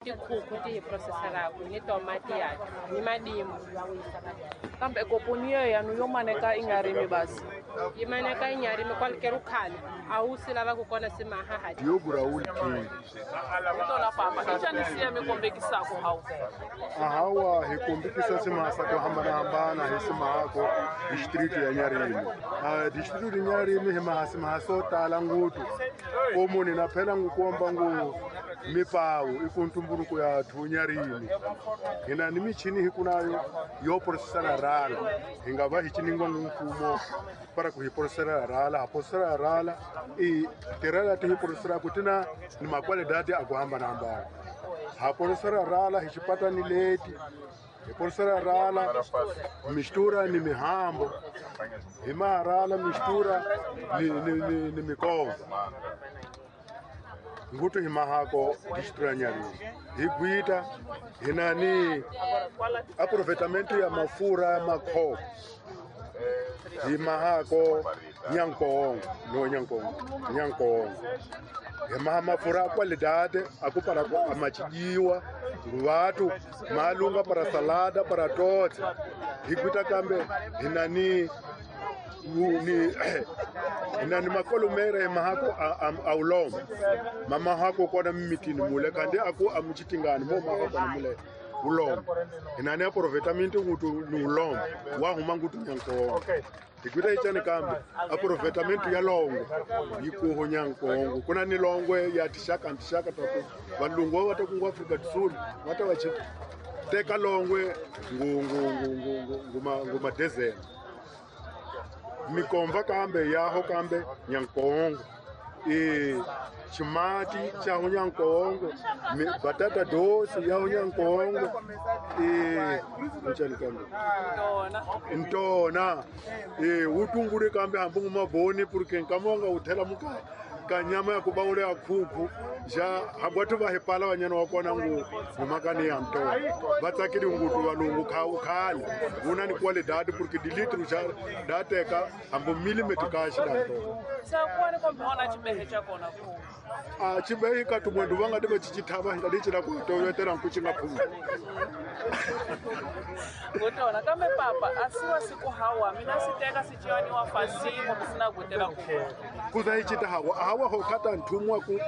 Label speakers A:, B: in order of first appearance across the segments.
A: Tikhukhu ti hi processelaku ni tomati ya ni madimu.
B: Kambe koponi yo yanu yo maneka i nga rimi basi.
A: Yi maneka i nga rimi kwalikeru khale a wu si lava ku kona si maha
B: Tona papa i xani siya mi kombekisako hawu?
C: Ahawa hi kombekisa simasa ku hambanahambana hi simahako district ya Nyarimi. District ya Nyarimi hi maha simaha swo tala ngopfu. Ko munhu na phela ngu komba ngu mipawu i ku ntumbuluko ya thu Nyarimi. Hina ni michini hi kunayo yo processela rala. Hi nga va hi ciningwa mfumo para ku hi processela rala, ha processela rala i tirela ti hi processela ku tina ni makwalidadi a ku hambanahambana. Ha processela rala hi xipatani leti. Hi processela rala mistura ni mihambo. Hi maharala mistura ni mikomba. Ngutu hi mahako district ya Nyarimi. Hi gwita hi na ni aproveitamento ya mafura ya makhopo. Hi mahako Nyankongo, no Nyankongo, Nyankongo. Hi maha mafura a qualidade, a ku para ku amachijiwa, vatu, malunga para salada, para totse. Hi gwita kambe hi na ni ni makolomere mahako a ulomba. Mama hako kona mimitini mule kandi aku amuchitingani mo mahako kona mule ulomba. Hina ni aproveitamento ngutu ni ulomba wa huma ngutu Nyankongo. Hikuta ichani kambe aproveitamento ya longo yikuho Nyankongo. Kuna ni longwe ya tishaka ntishaka taku valungu wa taku Afrika Kusini wata wachi teka longwe ngu ngu ngu ngu ngu ngu madezeni. Mikomva kambe yaho kambe Nyankongo. Chimati cha Nyankongo, batata dosi ya Nyankongo, nchani kambe. Ntona. Utungure kambe hambu maboni porque nkamonga uthela muka kanyama ya kubaule ya khuku ja hambwatu va hepala vanyana wa kona ngu ngumakani ya ntona. Va tsakile ngutu valungu khale una ni qualidade porque di litro ja da teka hambu millimeter ka xi da ntona.
B: Sa kwani kombe ona chibehe cha kona ku.
C: A chibehe ka tumwendu va nga ti va chichithava nga di chila ku toyotela nku chi nga phumi.
B: Ngotona kambe papa asiwa siku hawa mina siteka sichiwani wa fasimo sina kutela ku.
C: Kuza hi chita hawa hawa ho kata nthumwa ku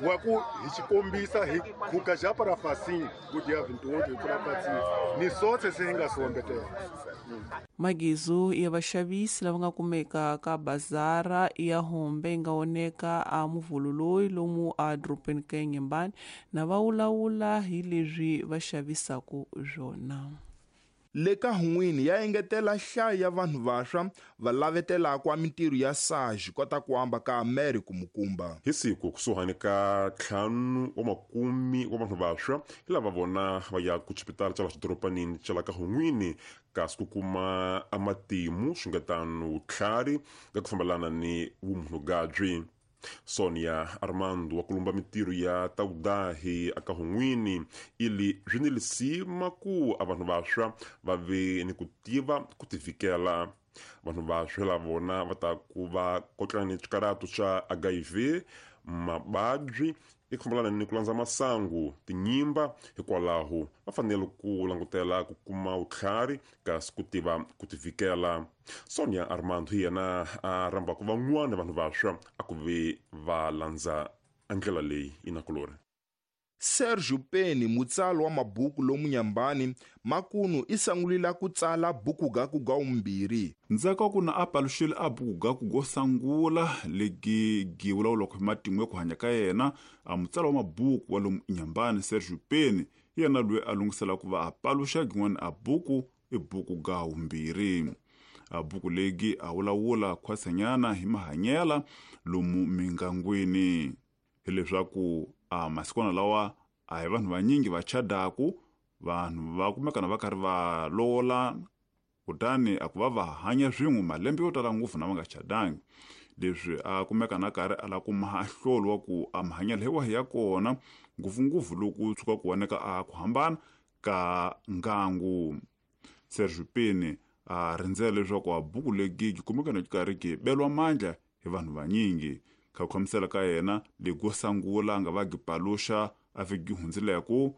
C: wa ku hi xikombisa hi khuka ja para fasini ku dia vintuwo hi pfula fasini ni sotse se hi nga sombetela.
D: Magizu ya vaxavisi lava nga kumeka ka bazara ya Hombe nga oneka a muvhulu lomu a dorobeni ka Nyembani na va wulawula hi leswi va xavisaka swona.
E: Le ka hun'wini ya engetela nhlayo ya vanhu vantshwa va lavetelaka mintirho ya SARS kota ku amba ka Mary Kumukumba.
F: Hi siku kusuhani ka 5 wa makumi wa vanhu vantshwa hi lava vona va ya ku xipitala xa la xidoropanini xa la ka hun'wini kasi ku kuma amatimu swi nga tano vutlhari ka ku fambelana ni vumunhugabyi. Sonia Armando wa kulumba mintirho ya tawudahi aka hun'wini ili swi ni lisima ku a vanhu vantshwa va ve ni ku tiva ku tivikela. Vanhu vantshwa la vona va ta ku va kotlana ni swikaratu swa HIV, mababyi i ku fambelana ni ku landza masangu, tinyimba, hikwalaho va fanele ku langutela ku kuma vutlhari kasi ku tiva ku tivikela. Sonia Armando hi yena a rhambaka van'wana vanhu vantshwa a ku ve va landza ndlela leyi inakulori.
E: Sergio Peni mutsali wa mabuku lomu Nyambani makunu i sangulila ku tsala buku ga ku ga umbiri.
G: Ndzhaku ku na a paluxile a buku ga ku go sangula legi gi vulavula hi matimu ya ku hanya ka yena a mutsali wa mabuku wa lomu Nyambani Sergio Peni yena loyi a lunghisela ku va a paluxa gin'wana a buku i buku ga umbiri. A buku legi a vulavula khwasanyana hi mahanyela lomu mingangwini. Hileswaku a masikwana lawa a hi vanhu vanyingi va chadaku vanhu va kumekana va karhi va lovola kutani a ku va va hanya swin'we malembe yo tala ngopfu na va nga chadangi. Leswi a kumekana karhi a la kuma ahlolo wa ku a mahanyelo hi wahi ya kona ngopfungopfu loko tshuka ku voneka a ku hambana ka ngangu. Sergio Peni a rindzela leswaku a buku legi yi kumekana yi karhi yi beliwa mandla hi vanhu vanyingi. Ka ku khamisela ka yena lego sangula nga va gi paluxa A vhiki hundzileko.